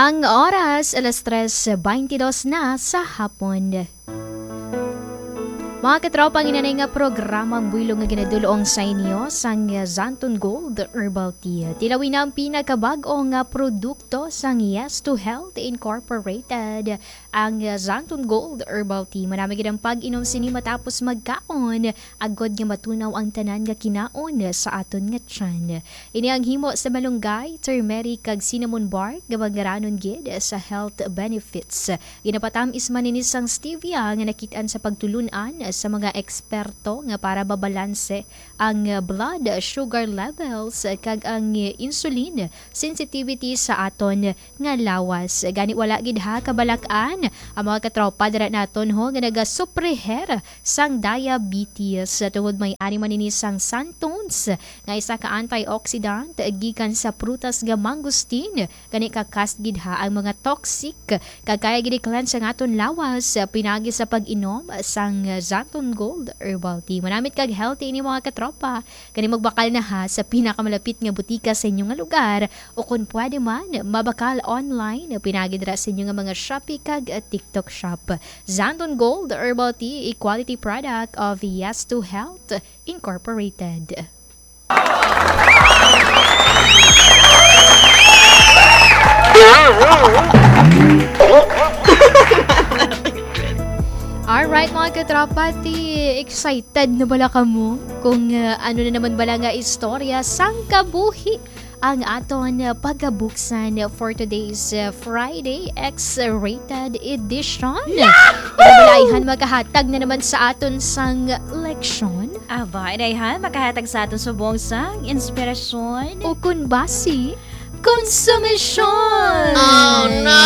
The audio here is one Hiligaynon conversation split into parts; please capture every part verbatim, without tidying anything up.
Ang oras, alas tres beintidos na sa hapon. Mga katropa, ang inanay nga programang buylog nga ginadul-ong sa inyo sang Xanthone Gold Herbal Tea. Tilawin na ang pinakabag-o nga produkto sang Yes to Health Incorporated, ang Xanthone Gold Herbal Tea. Madami gid ang pag-inom sini matapos magkaon, agod nga matunaw ang tanan nga kinaon sa aton nga tiyan. Ini ang himo sa malunggay, turmeric, kag cinnamon bark nga mangaranon gid sa health benefits. Ginapatamis man ini sang stevia nga nakit-an sa pagtulun-an sa mga eksperto nga para mabalanse ang blood sugar levels kag ang insulin sensitivity sa aton nga lawas. Gani, wala gid ha kabalak-an ang mga katropa dira naton ho nga nagasupre sang diabetes, tungod may-ari man ini sang xanthones nga isa ka antioxidant gikan sa prutas nga mangosteen. Gani, kakas gid ha ang mga toxic kag kaya gid i-cleanse ang aton lawas pinaagi sa pag-inom sang Xanthone Gold Herbal Tea. Manamit kag healthy ini, mga katropa. Gani, magbakal na ha sa pinakamalapit nga butika sa inyo nga lugar, o kon pwede man, mabakal online pinaagi dira sa inyo nga mga Shopee kag, uh, TikTok shop. Xanthone Gold Herbal Tea, a quality product of Yes to Health Incorporated. Alright, mga katropa, ti excited na bala kamo kung, uh, ano na naman bala nga istorya sang kabuhi ang aton, uh, pagabuksan for today's, uh, Friday X-rated edition. Yahoo! Ina bala ayhan, makahatag na naman sa aton sang leksyon. Aba, inayhan, makahatag sa aton subong sang inspirasyon. O kun basi, konsumisyon! Oh, no!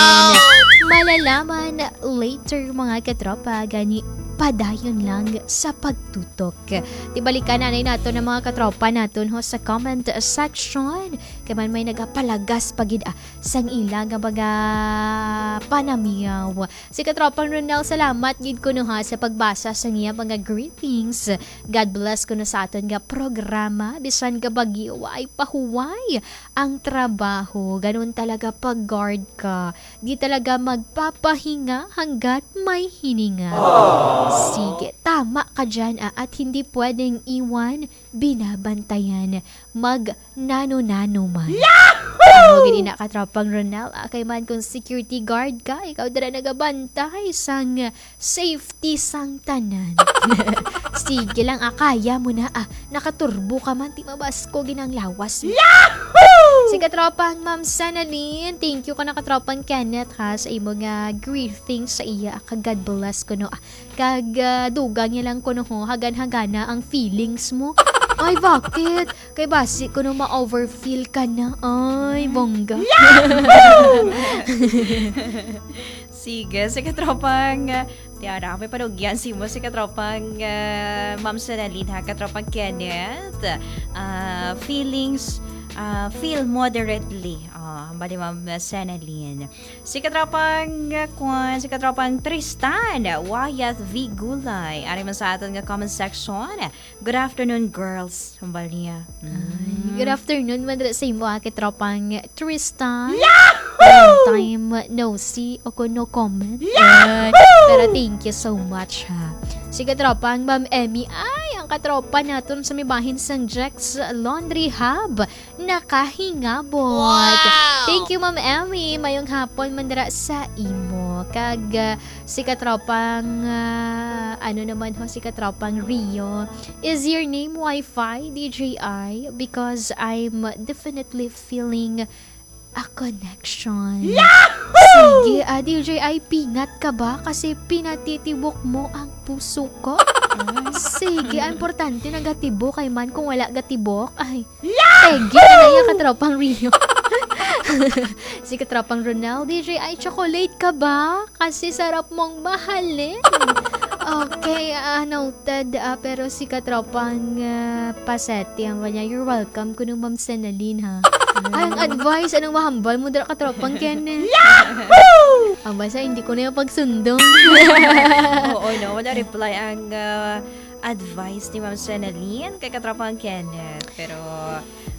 Malalaman later, mga katropa, gani padayon lang sa pagtutok. Ti balikan anay naton ang mga katropa naton ho sa comment section. Kay man may nagapalagas pa gid, ah, sang ila nga mga panamiyaw. Si Katropang Ronel, salamat gid kuno ha sa pagbasa sa iya mga greetings. God bless kuno sa aton nga programa. Bisan ka bagyo, ay pahuway ang trabaho. Ganun talaga pag guard ka. Di talaga magpapahinga hanggat may hininga. Sige, tama ka dyan, ah, at hindi pwedeng iwan binabantayan, mag nano-nano man. Yahoo! Amo gid ina, Katropang Ronel, ah, kay man kung security guard ka, ikaw dira nagabantay sang safety sang tanan. Sige lang, ah, kaya mo na, ah. Nakaturbo ka man, ti mabasko gid ang lawas mo. Yahoo! Si Katropang Ma'am Senalyn, thank you ka na, Katropang Kenneth, ha, sa imo nga greetings sa iya, ah, ka God bless kuno, ah. Kag, ah, dugang niya lang kuno ho, hagan-hagana ang feelings mo. Ay, bakit? Kay basi kuno ma-overfeel ka na. Ay, bongga. Yahoo! Sige, si Katropang, ah, Tiara, may panugyan si mo, si Katropang, ah, Ma'am Senalyn, ha, Katropang Kenneth. Ah, feelings, ah, feel moderately. Ah, hambal ni Ma'am Senalyn. Si Katropang, uh, kwan, si Katropang Tristan Wyatt V Gulay. Ari man sa aton nga comment section. "Good afternoon, girls." Hambal niya. Ay, mm, good afternoon man dira sa imo, ah, Katropang Tristan. Yahoo! Long time no see o kung no comment. Yahoo! Ay, pero thank you so much, ha. Si Katropang Ma'am Emmy, ay, ang katropa naton sa may bahin sang Jex Laundry Hub. Nakahingabot. Wow! Thank you, Ma'am Emmy. Mayong hapon man dira sa imo. Kag, ah, si Katropang, ah, ano naman ho, si Katropang Rio, "Is your name Wi-Fi, D J I? Because I'm definitely feeling a connection." Yahoo! Sige, ah, D J I, pingat ka ba? Kasi pinatitibok mo ang puso ko. Sige, ang importante nagatibok kay man kung wala gatibok. Ay, Yahoo! Peggy, ano yung Katropang Rio? Si Katropang Ronel, "D J I, chocolate ka ba? Kasi sarap mong mahalin." Okay, ah, noted. Ah, pero si Katropang, ah, Pasete, ang kanya, "You're welcome," kuno Ma'am Senalyn, ha? Ay, ang advice, anong mahambal mo dira, Katropang Kenneth? Yahoo! Ang basa, hindi ko na yung pagsundong. Oo, no? Wala reply ang, ah, advice ni Ma'am Senalyn kay Katropang Kenneth. Pero,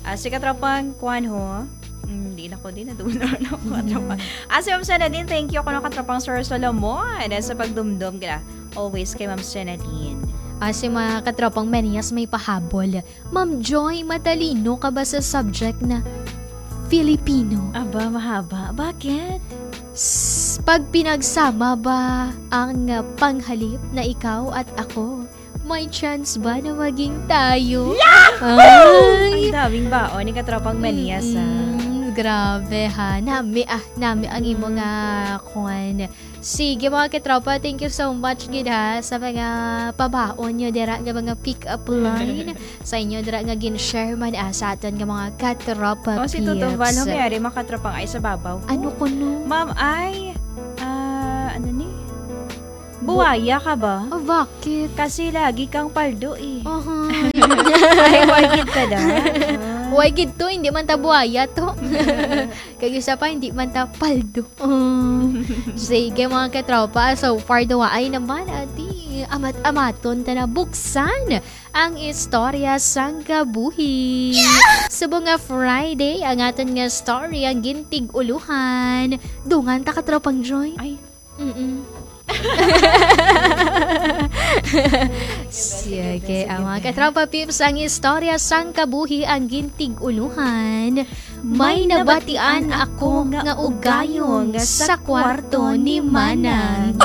ah, si Katropang Kwan ho, mm, Di na ko din, nadumdum na ako, katropa. Ah, si Ma'am Senadine, thank you, kuno, katropang Sir Solomon, sa pagdumdum ka. Always kay Ma'am Senadine. Ah, si mga katropang Menyas may pahabol. Ma'am Joy, matalino ka ba sa subject na Filipino? Aba, mahaba. Bakit? S- pag pinagsama ba ang, ah, panghalip na ikaw at ako, may chance ba na maging tayo? Ang Ay! daming baon ni katropang Menyas, ah. Mm, grabe ha. Nami ah, nami ang imo nga kwan. Sige, mga katropa, thank you so much gid ha sa mga pabaon nyo dira nga mga pick-up line sa inyo dira nga gin-share man ah, sa aton nga mga katropa O, si Toto Val, peeps. Humiari, mga katropang ay sa babaw. Ano ko no? Ma'am, ay, ah, ano ni? Buwaya ka ba? Oh, bakit? Kasi lagi kang paldo eh. Aha. Ay, why gid ka da? Ah. Why gid to? Hindi man ta buwaya to. Kag isa pa, hindi man ta paldo. Oh. Sige, mga katropa, so far duwaay naman, ati, amat-amaton ta na buksan ang istorya sang kabuhi. Subong nga Friday, ang aton nga story ang gintig-uluhan. Dungan ta, katropang Joy. Ay, Mm-mm. Sige, ang mga katropa peeps, ang istorya sang kabuhi ang gintig-uluhan. May nabatian ako nga ugayong sa kwarto ni Manang.